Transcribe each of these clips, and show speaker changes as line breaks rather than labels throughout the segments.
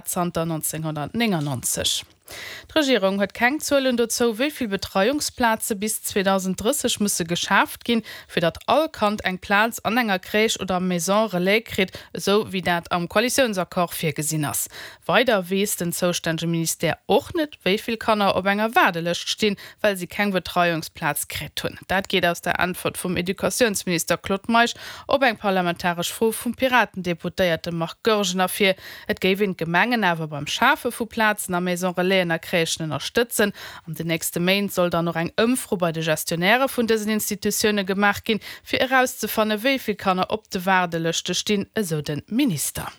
Zanter 1999. D'Regierung huet keng Zuelen dozou, wéi vill Betreiungsplaze bis 2030 musse geschaaft ginn, fir datt all Kand eng Plaz an enger Crèche oder Maison Relais kritt, esou wéi dat am Koalitiounsaccord virgesinn ass. Weider weess den zoustännege Ministère och net, wéi vill Kanner op enger Waardelëscht stinn, well si keng Betreiungsplaz kritt hunn. Dat geet aus der Äntwert vum Educatiounsminister Claude Meisch op eng parlamentaresch Fro vum Piraten-Deputéierte Marc Goergen ervir. Et géif een d'Gemengen awer beim Schafe vu Plazen a Maison Relaisen a Crèchen ënnerstëtzen. An den nächste Méint soll dann och eng Ëmfro bei de Gestionnairë vun dësen Institutioune gemaach ginn, fir erauszefanne wéi vill Kanner op de Waardelëschte stinn, esou de Minister.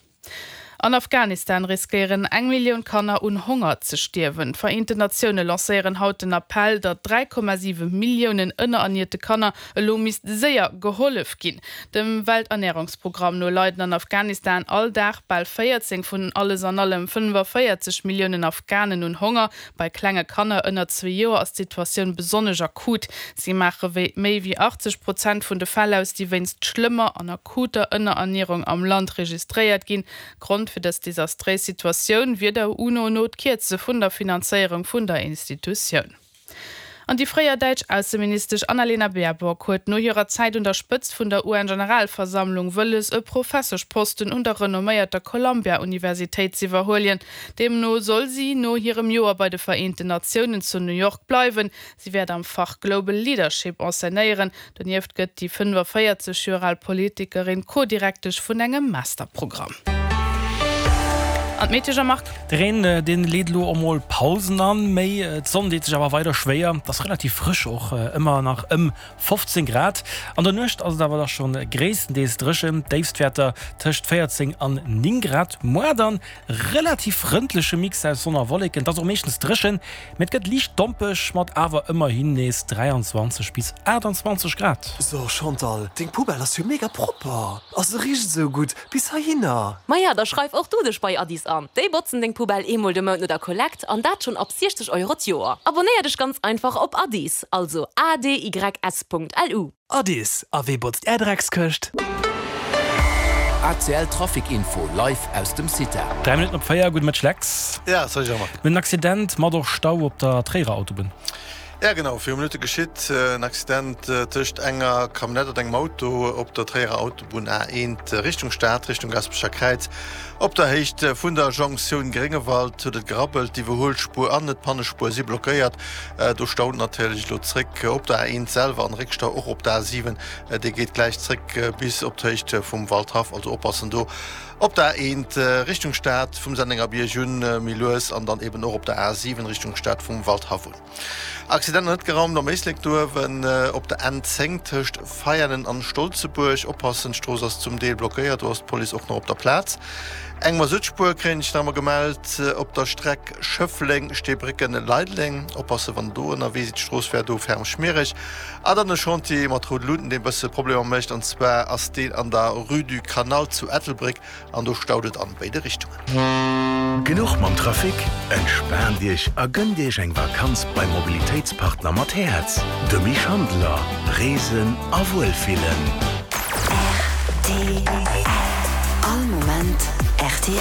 An Afghanistan riskéieren eng Millioun Kanner un Honger ze stierwen. D'Vereenten Natioune lancéieren haut den Appell, datt 3,7 Milliounen ënnerernierte Kanner elo misst séier gehollef ginn. Dem Welternärungsprogramm no leiden an Afghanistan all Dag bal 14 vun alles an allem 45 Milliounen Afghanen un Honger. Bei klenge Kanner ënner zwee Joer ass d'Situatioun besonnesch akut. Si maache wéi méi wéi 80 Prozent vun de Fäll aus, déi wéinst schlëmmer an akuter Ënnerernierung am Land registréiert ginn. Grond fir dës desastréis Situatioun wier der UNO no d'Kierze vun der Finanzéierung vun der Institutioun. An déi fréier däitsch Ausseministesch Annalena Baerbock huet no hirer Zäit un der Spëtzt vun der UN-Generalversammlung wëlles, e Professeschposten un der renomméierter Columbia-Universitéit z'iwwerhuelien. Deemno soll si no hirem Joer bei de Vereenten Natiounen zu New York bleiwen. Si wäert am Fach Global Leadership enseignéieren. Donieft gëtt déi 45 Joer al Politikerin Co-Direktesch vun engem Masterprogramm. An d'Metesch am Marc.
De Reen, dee leet elo emol Pausen an, méi d'Sonn deet sech awer weider schwéier. Et ass relativ frësch, och ëmmer nach ëm 15 Grad. An der Nuecht ass et awer da scho gréisstendeels dréchen, Déifstwäerter tëscht 14 an 9 Grad. Muar dann relativ frëndleche Mix aus Sonn a Wolleken, et ass och meeschtens dréchen, Mee et gëtt liicht dompeg mat awer ëmmerhin nees 23 bis 28 Grad.
So Chantal, deng Poubelle ass jo mega propper a se richt esou gutt bis heihinner.
Maja, da schreif och du dech bei Addis an. Déi botzen deng Poubelle eemol de Mount no der Kollekt an dat schonn ab 60 Euro d'Joer. Abonnéier dech ganz einfach op Addis, also adys.lu.
Addis, a wee botzt är Dreckskëscht?
ACL Trafic Info live aus dem CITA.
3 Minutten op 4, gudde Mëtteg Lex.
Ja, salut Jean-Marc.
Mir hunn en Accident mat och Stau op der Tréierer Autobunn.
Ja genau, viru Minutte geschitt en Accident tëscht enger Camionnette an engem Auto op der Tréierer Autobunn A1 Richtung Stad, Richtung Gaspecher Kräiz. Op der Héicht vun der Jonktioun Gréngewald huet et gerabbelt, d'Iwwerhuelspuer an d'Pannespuer si blockéiert. Do staut natierlech elo zréck op der A1 selwer an Réckstau och op der A7. Dee geet gläich zréck bis op d'Héicht vum Waldhaff. Also oppassen do op der A1 Richtung Stad vum Sennengerbierg un méi lues an dann eben och op der A7 Richtung Stad vum Waldhaff un. Accident net geraumt am Éislek do uewen op der N10 tëscht Veianen an Stolzebuerg. Oppassen, d'Strooss ass zum Deel blockéiert, do ass d'Police och nach op der Plaz. Eng Masuttspuer kréien ech nach emol gemellt op der Streck Schëffleng, Steebrécken, Leideleng. Oppassen wann der do ënnerwee sidd, d'Strooss wär do ferm schmiereg. A dann e Chantier mat roude Luuten deen bësse Problemer mécht an zwar ass deen an der Rue du Canal zu Ettelbréck an do staut et an béide Richtungen.
Genuch mam Trafic? Entspaant Iech a gënnt Iech eng Vakanz beim Mobilitéitspartner mat Häerz, dem Schandeler. Reesen a Wuelfillen.
Rtl. All Moment rtl.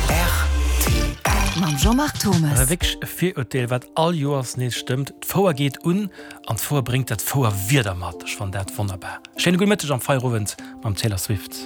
Rtl.
Mam Jean-Marc Thommes.
Awer wierklech e Virurteel, wat all Joers nees stëmmt, D'Fouer geet un an d'Fouer bréngt dat Fouerwieder mat. Ech fannen dat wonnerbar. Schéine gudde Mëtteg am Feierowend mam Taylor Swift.